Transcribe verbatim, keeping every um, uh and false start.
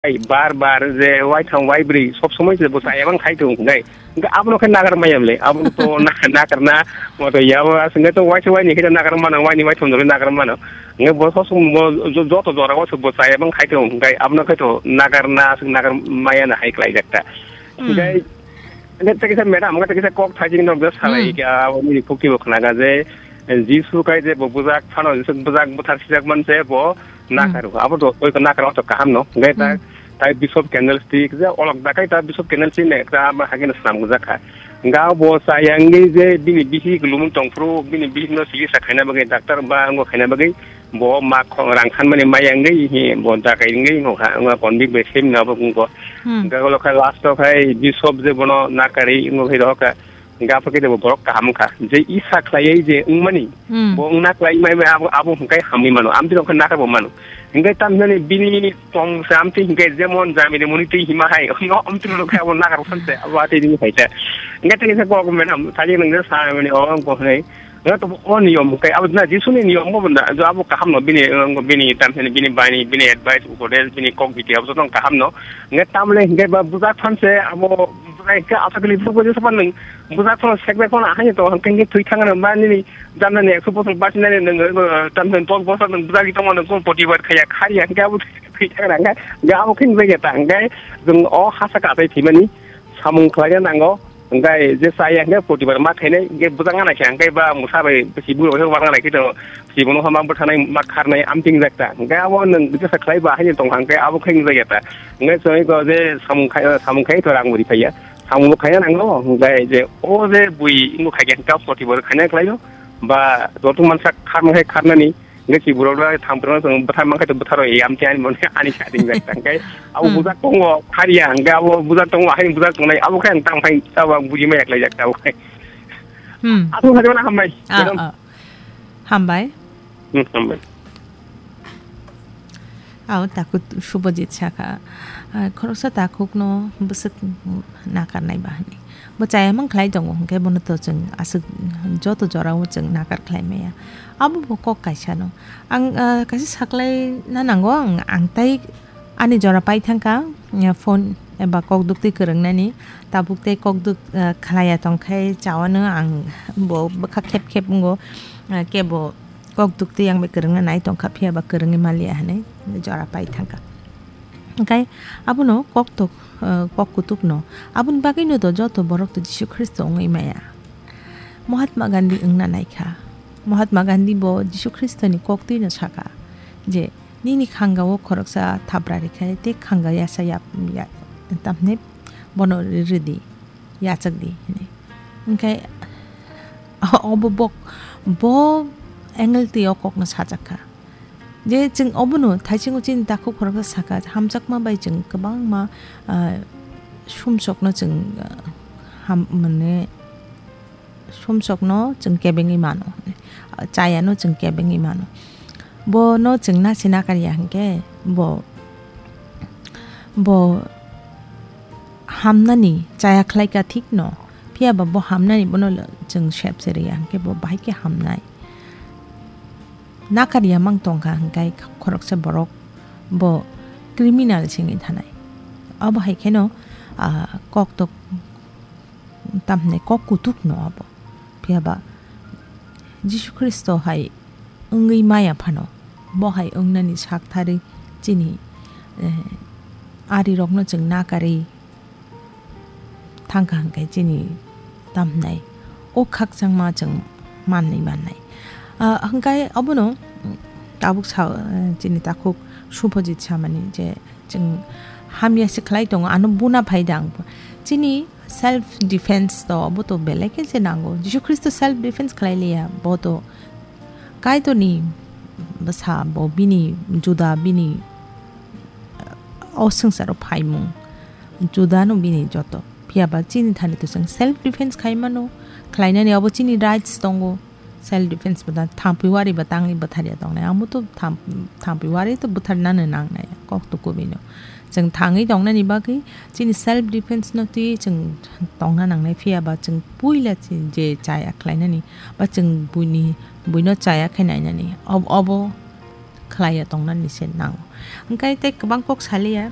Ai, bar bar je waitham waibrwi sob somoi se bo chaya bang khai tongo, hwnkhe, hwnkhe abono khe nagar maya bwle, abono to na-, nagar na, mo to yabo aswk khe to waisa waini khe to nagar mano, waini waitham jora nagar mano, hwnkhe bo sob somoi bo jo-, joto jora o se bo chaya bang khai tongo, hwnkhe abono khe to nagar na, aswk nagar maya na hai khlai jak ta. Hmm. Hwnkhe, hwnkhe tei kisa madam, hwnkhe tei kisa kok thaijing nok je salai Hmm. kha, abo nini khukti bo khnaga je, Jisu kai je bo bujak phano, Jisu bujak buthar sijak man se bo Hmm. nakaro. Abo to, oi, nakaro to kaham no. Hwnkhe ta, Hmm. tai Bishop Candlestick, je olok da kai ta Bishop Candlestick ne, ta ma hagin slam gujak kha. Hwnkhe bo chaya wngwi je bini bihik lumung tongphuru, bini bihik no chikitsa khaina bagwi doctor ba wngbo khaina bagwi bo ma kho-, rang thanmani maya wngwi hi bo dakai wngwi wngkha, wngkha convict bai semi no abo wngkha. Hmm. Hwnkhe ulo khe last o khai Bishop je bono nakarwi wngwi khai rohor kha. Hingke aphuru khe bo borok kaham wngkha. Je isa khlaiwi je wngmani, Hmm. bo wngna khlai mai mai abo, abo hingke hamwi mano. Amtwi rok khe nakar bo mano. Hingke tamhinani bini tong se amtwi hingke jemon jamini muni twi hima hai. Amtwi rok khe abo nakar bo san se. Abo atwi ring hai se. Hingke tei kisa kok mena sajik nang je sa mani o wng ko hinai. Hingke to o niyom hingke abo na Jisuni niyom bo na. Jo abo kaham no bini, bini tamhinani bini bani, bini advice, upodesh, bini kok biti abo joto kaham no. Hingke tamle hingke ba bujak phan se abo bujak hingke asa kali bujak bo je sapan nang. Bujak phano sekbek phano ahai to hwnkhe thwi thangna ma nini jamna ni ekso bosor bachinani nwng, uh, tamni dos bosor nwng bujagwi tongma nwng kung poti bar khaya khari hwnkhe abo thwi thangna hwnkhe ga abo khe nwng ta hwnkhe nwng o hasa ka tei thwimani samung khlaina nango hwnkhe je chaya hwnkhe poti bar ma khainai hwnkhe bujak ngana khe hwnkhe ba musa bai si buro bai bar ngana khe to si bono ma bwthanai ma kharnai amting jak ta hwnkhe abo nwng jesa khlai ba haino tong hwnkhe abo khe nwng jak ta hwnkhe chwng ko je samung khai samung khai to rang buri phaiya. Samung bo khaina nango, hwnkhe je o je bui wngkha khe hwnkhe poti bo khaina khlaio, ba joto mansa kharma khe kharnani, hwnkhe si borok da thang phano chwng bwthar mankha to bwtharo, e, amtwi ani mone ani sa ding jak ta, hwnkhe abo Hmm. bujak tongo, khariya, hwnkhe abo bujak tongo, ahai bujak tongnai, abo khe ang tang phai, abo ang buji maya khlai jak ta, abo khe. Hmm. Aswk khaijak mano hambai, Ah, madam. Ah. Hambai. Hmm, hambai. Ao takhuk Subhajit sakha, ah, khoroksa takhukno bwswk nakarnai ba hwnwi. Bo chaya mang khlai tongo, hwnkhe bono to chwng aswk joto jorao chwng nakar khlai maya. Abo bo kok kaisa no. Ang, ah, kaisa saklai na nango, ang, ang tai ani jora pai thangkha, ah, phone eba kok duktwi kwrwngnani. Tabuk tei kok duk, ah, khlaiya tongkhe chawano ang bo bwkha khep khep wngo, ah, kebo kok duktwi ang bai kwrwngna nai tongkha, phiya ba kwrwngwi manliya hwnwi jora pai thangkha. Hwnkhe abono kok tok, eh, kok kutukno, aboni bagwino do joto borok to Jisu Khristo wngwi maya. Mahatma Gandhi wngna naikha. Mahatma Gandhi bo Jisu Khristoni koktwino sakha je, "Nini khangao khoroksa thabra rikha, tei khanga yasa yap-, ya-, tamni bono ri-, ridi." Yachak di, hwnwi. Hwnkhe obo bok, bo angle twi o kokno sajak kha. Je chwng obono thaisingo chini takhuk khoroksa sakha, hamjakma bai chwng kwbangma, ah, sumsokno chwng, ah, ham-, mane, sumsokno chwng kebengwi mano, chayano chwng kebengwi mano. Bono chwng nasi nakar ya hwnkhe bo, bo hamnani chaya khlaika thikno, phiya ba bo hamnani bono chwng sep se rwya hwnkhe bo bahai khe hamnai. Nakar ya mang tongkha hwnkhe khoroksa borok bo criminal se wngwi thanai. Abo hai kheno, ah, kok tok tamni kok kutuk no abo. Phiya ba Jisu Khristo hai wngwi maya phano, bo hai wngnani sak tharwi chini, eh, arirokno chwng nakarwi thangkha hwnkhe chini tamhnai o khakchangma chwng manwi mannai. Ah, hwnkhe obono tabuk sa, eh, chini takhuk Subhajit samani je, Chwng hamya se khlai tongo, ano buna phai da ang. Chini self defense to, bo to belai khe se nango. Jisu Khristo self defense khlai liya, bo to Kaitorni bwsa, bo bini juda, bini, o swngcharo phaimung, juda no bini joto. Phiya ba chini thani to chwng self defense khai mano, khlainani abo chini rights tongo. Self defense bo da thampui wari ba tangwi bwtharya tongnai. Amo to tham-, thampui wari to bwtharnano nangnai, kok to kubui no. Chwng thangwi tongnani bagwi chini self defense no twi chwng tongna nangnai, phiya ba chwng puila chini je chaya khlainani ba chwng buini, buino chaya khe nainani, ob-, obo khlaiya tongnani se nango. Hwnkhe tei kwbang kok saliya.